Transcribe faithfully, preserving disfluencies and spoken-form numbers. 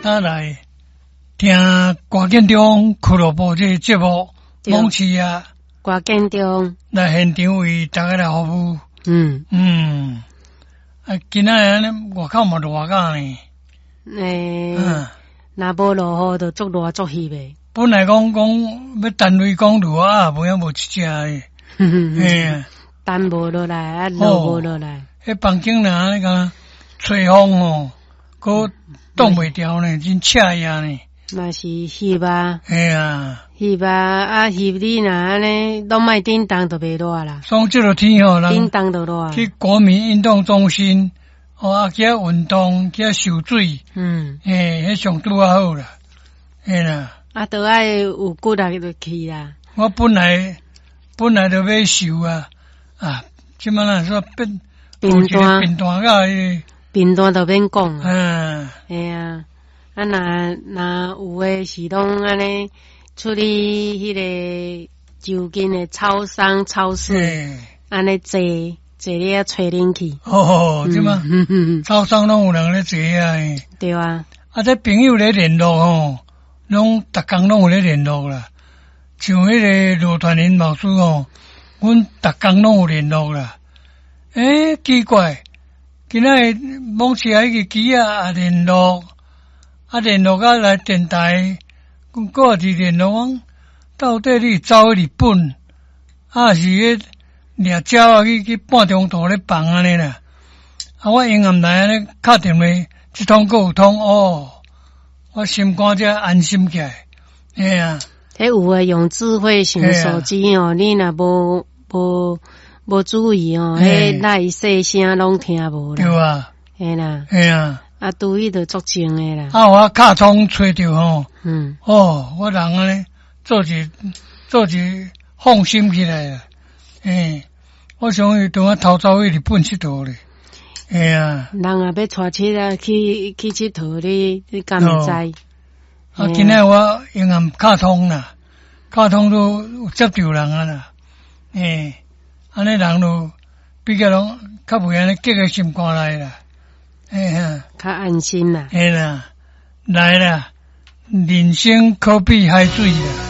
搭來聽歌建中俱樂部這個節目，罔市啊，歌建中來現場為大家來服務。嗯嗯，啊，今仔日按呢外口嘛熱甲呢。欸，若無落雨就足熱足翕的。本來講講欲等雷公落啊，無影無一隻的。嘿，等無落來，啊落無落來。彼房間若按呢個吹風吼，閣擋袂牢呢，真刺耳呢。嘛是翕啊，嘿啊，翕啊，啊翕你若按呢，攏莫振動就袂熱啦。所以這個天吼，振動就熱。去國民運動中心，哦啊去遐運動，去遐受水，嗯，嘿，彼上拄仔好啦，嘿啦。啊，都愛有骨力就去啦。我本來本來就欲瘦啊，啊，這擺若說變貧惰，貧惰甲彼貧惰就免講。嗯，嘿啊。啊，若若有的是攏按呢出去彼个就近的超商、超市，按呢坐坐咧吹冷氣。哦，對嗎？超商攏有人咧坐啊。對啊。啊，這朋友咧聯絡吼，攏逐工攏有咧聯絡啦。像彼个羅傳林老師吼，阮逐工攏有聯絡啦。欸，奇怪，今仔日罔市啊，彼个機仔也聯絡。啊，聯絡啊來電台，閣也是聯絡講，到底你走去日本，啊是彼掠鳥仔去去半中途咧放按呢啦？啊，我永暗來按呢敲電話，這通閣有通哦，我心肝才安心起來。嘿啊，彼有的用智慧型手機哦，你若無無無注意哦，彼內細聲攏聽無啦。對啊。嘿啦。嘿啊。啊，拄伊就足靜的啦。啊，我尻瘡揣著吼，嗯，哦，我人按呢做一做一放心起來啦。欸，我想伊當我偷走去日本𨑨迌咧。嘿啊。人若欲帶会仔去去𨑨迌，你你敢會知？啊，今仔我永暗尻瘡啦，尻瘡都有接著人啊啦。欸，按呢人就比較攏較袂按呢結個心肝內啦。嘿啊，較安心啦。嘿啦，來啦，人生可比海水啦。